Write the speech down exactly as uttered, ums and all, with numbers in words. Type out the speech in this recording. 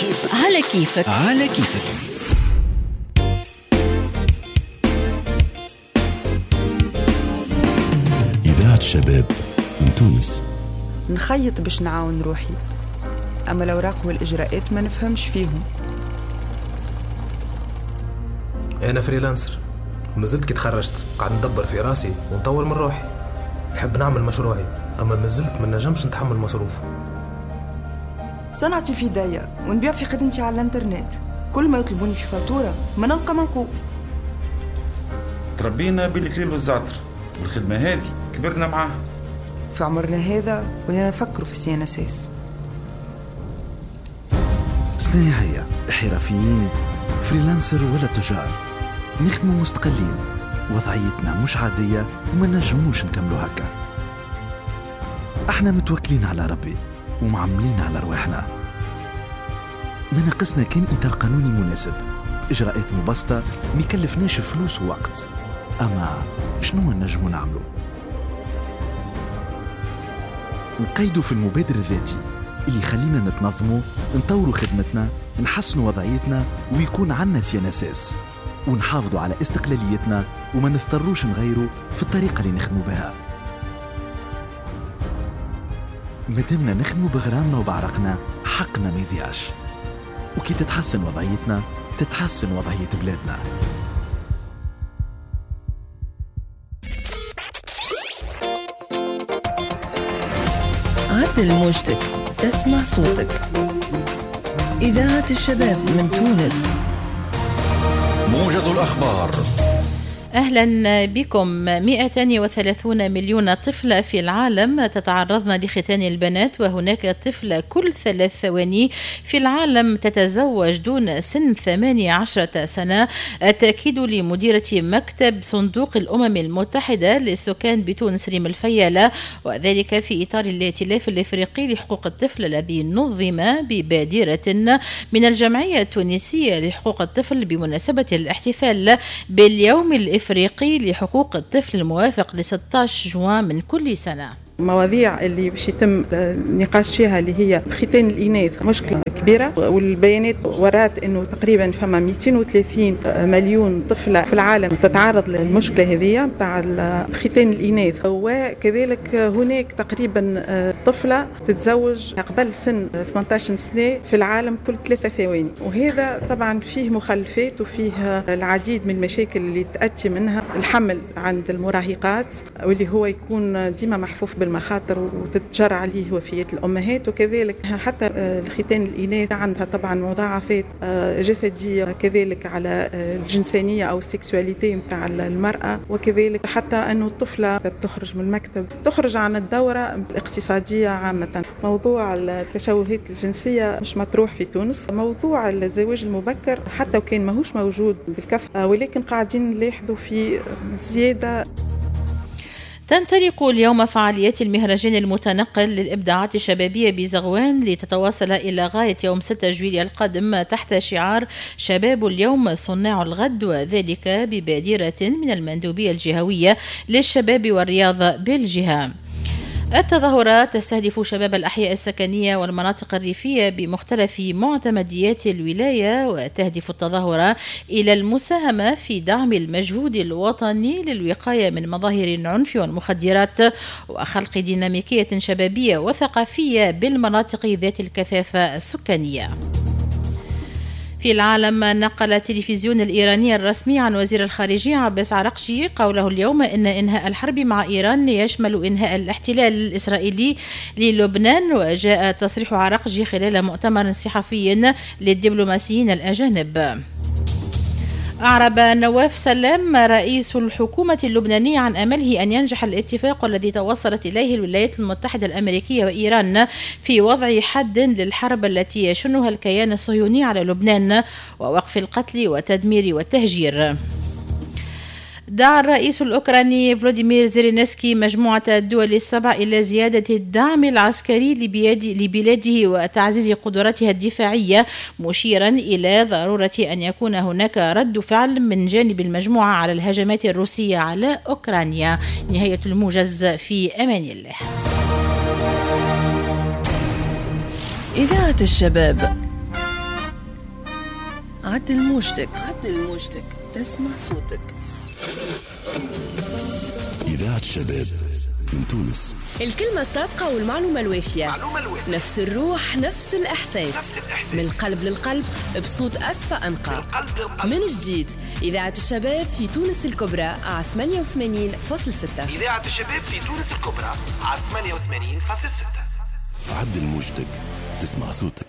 كيفك على كيفك على كيفك. إذاعة الشباب من تونس. نخيط باش نعاون روحي، أما الأوراق والإجراءات ما نفهمش فيهم. أنا freelancer، مازلت كي تخرجت قاعد ندبر في راسي ونطور من روحي. نحب نعمل مشروعي، أما مازلت ما نجمش نتحمل مصروفه. صنعتي في داية ونبيع في خدمتي على الانترنت، كل ما يطلبوني في فاتورة ما نلقى منقول. تربينا بالكليل والزعتر، والخدمة هذه كبرنا معاها. في عمرنا هذا ولينا نفكروا في ال CNSS. صناعية، حرفيين، freelancer ولا تجار، نخدموا مستقلين، وضعيتنا مش عادية وما نجموش نكملوا هكا. احنا متوكلين على ربي ومعملين على رواحنا. ما ناقصنا كان إطار قانوني مناسب، إجراءات مبسطة، ما يكلفناش فلوس ووقت. أما شنو نجمو نعملو؟ نقيدو في المبادر الذاتي اللي يخلينا نتنظمو، نطورو خدمتنا، نحسنو وضعيتنا، ويكون عنا CNSS، ونحافظوا على استقلاليتنا وما نضطروش نغيروا في الطريقة اللي نخدمو بها. مادامنا نخدمو بغرامنا وبعرقنا، حقنا ما يضيعش. وكي تتحسن وضعيتنا تتحسن وضعية بلادنا. عدل موجتك تسمع صوتك. إذاعة الشباب من تونس. موجز الأخبار. أهلا بكم. مئتين وثلاثون مليون طفلة في العالم تتعرضن لختان البنات، وهناك طفلة كل ثلاث ثواني في العالم تتزوج دون سن ثمانية عشرة سنة. التأكيد لمديرة مكتب صندوق الأمم المتحدة للسكان بتونس ريم الفيالة، وذلك في إطار الائتلاف الإفريقي لحقوق الطفل الذي نظم ببادرة من الجمعية التونسية لحقوق الطفل بمناسبة الاحتفال باليوم الإفريقي الإفريقي لحقوق الطفل الموافق ل ستة عشر جوان من كل سنة. المواضيع اللي باش يتم النقاش فيها اللي هي ختان الإناث، مشكلة كبيرة، والبيانات ورات انه تقريبا فما مئتين وثلاثين مليون طفلة في العالم تتعرض للمشكلة هذه نتاع ختان الإناث، وكذلك هناك تقريبا طفلة تتزوج قبل سن ثمانية عشر سنة في العالم كل ثلاثة ثواني، وهذا طبعا فيه مخلفات وفيه العديد من المشاكل اللي تأتي منها الحمل عند المراهقات، واللي هو يكون ديما محفوف بالمخاطر وتتجرى عليه وفيات الأمهات، وكذلك حتى الختان الإناث عندها طبعا مضاعفات جسدية، كذلك على الجنسانية أو ال sexualité نتاع المرأة، وكذلك حتى أنه الطفلة بتخرج من المكتب، تخرج عن الدورة الاقتصادية عامة. موضوع التشوهات الجنسية مش مطروح في تونس، موضوع الزواج المبكر حتى وكان ماهوش موجود بالكثرة، ولكن قاعدين نلاحظوا في زيادة. تنطلق اليوم فعاليات المهرجان المتنقل للإبداعات الشبابية بزغوان لتتواصل إلى غاية يوم ستة جويلية القادم تحت شعار شباب اليوم صناع الغد، وذلك ببادرة من المندوبية الجهوية للشباب والرياضة بالجهة. التظاهرات تستهدف شباب الأحياء السكنية والمناطق الريفية بمختلف معتمديات الولاية، وتهدف التظاهرة إلى المساهمة في دعم المجهود الوطني للوقاية من مظاهر العنف والمخدرات وخلق ديناميكية شبابية وثقافية بالمناطق ذات الكثافة السكانية. في العالم، نقل التلفزيون الإيراني الرسمي عن وزير الخارجية عباس عراقجي قوله اليوم إن إنهاء الحرب مع إيران يشمل إنهاء الاحتلال الإسرائيلي للبنان. وجاء تصريح عراقجي خلال مؤتمر صحفي للدبلوماسيين الأجانب. أعرب نواف سلام رئيس الحكومة اللبنانية عن أمله أن ينجح الاتفاق الذي توصلت إليه الولايات المتحدة الأمريكية وإيران في وضع حد للحرب التي يشنها الكيان الصهيوني على لبنان ووقف القتل والتدمير والتهجير. دعا الرئيس الأوكراني فلاديمير زيلينسكي مجموعة الدول السبع إلى زيادة الدعم العسكري لبلاده وتعزيز قدراتها الدفاعية، مشيرا إلى ضرورة أن يكون هناك رد فعل من جانب المجموعة على الهجمات الروسية على أوكرانيا. نهاية الموجز، في أمان الله. إذاعة الشباب عدل موجتك، عدل موجتك، تسمع صوتك. إذاعة الشباب من تونس. الكلمة الصادقة والمعلومة الوافية، معلومة الوافية. نفس الروح، نفس الإحساس، نفس الإحساس. من القلب للقلب، بصوت أصفى أنقى. من القلب للقلب. من جديد إذاعة الشباب في تونس الكبرى على ثمانية وثمانين فاصلة ستة. إذاعة الشباب في تونس الكبرى على ثمانية وثمانين فاصلة ستة. عدل موجتك تسمع صوتك.